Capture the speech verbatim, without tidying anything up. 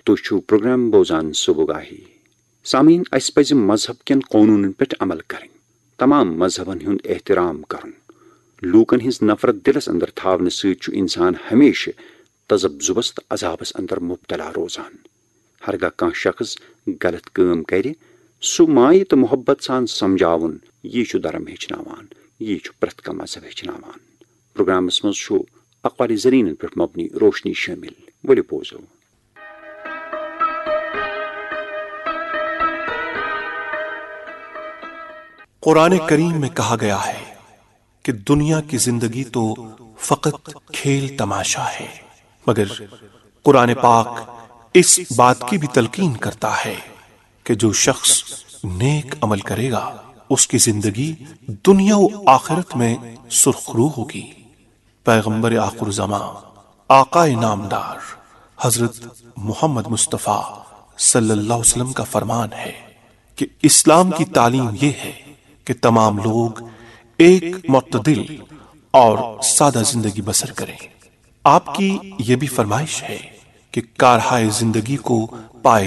تُہۍ چھِو پروگرام بوزان صبح گاہی۔ سامعین، اسہِ پزِ مذہب کٮ۪ن قونوٗنن پٮ۪ٹھ عمل کرٕنۍ، تمام مذہبن ہُنٛد احترام کرُن، لوٗکن ہٕنٛز نفرت دِلس اندر تھاونہٕ سۭتۍ چھُ انسان ہمیشہٕ تذبذبس تہٕ عذابس اندر مبتلا روزان۔ ہرگاہ کانٛہہ شخص غلط کٲم کرِ، سُہ مایہِ تہٕ محبت سان سمجھاوُن، یی چھُ دھرم ہیٚچھناوان، یی چھُ پرٛٮ۪تھ کانٛہہ مذہب ہیٚچھناوان۔ پروگرامس منٛز چھُ اقوال زرینن پٮ۪ٹھ مبنی روشنی شٲمِل۔ ؤلِو بوزو۔ قرآن کریم میں کہا گیا ہے کہ دنیا کی زندگی تو فقط کھیل تماشا ہے، مگر قرآن پاک اس بات کی بھی تلقین کرتا ہے کہ جو شخص نیک عمل کرے گا، اس کی زندگی دنیا و آخرت میں سرخرو ہوگی۔ پیغمبر آخر زمان، آقائے نامدار حضرت محمد مصطفیٰ صلی اللہ علیہ وسلم کا فرمان ہے کہ اسلام کی تعلیم یہ ہے کہ تمام لوگ ایک معتدل اور سادہ زندگی بسر کریں۔ آپ کی یہ بھی فرمائش ہے کہ کارہائے زندگی کو پائے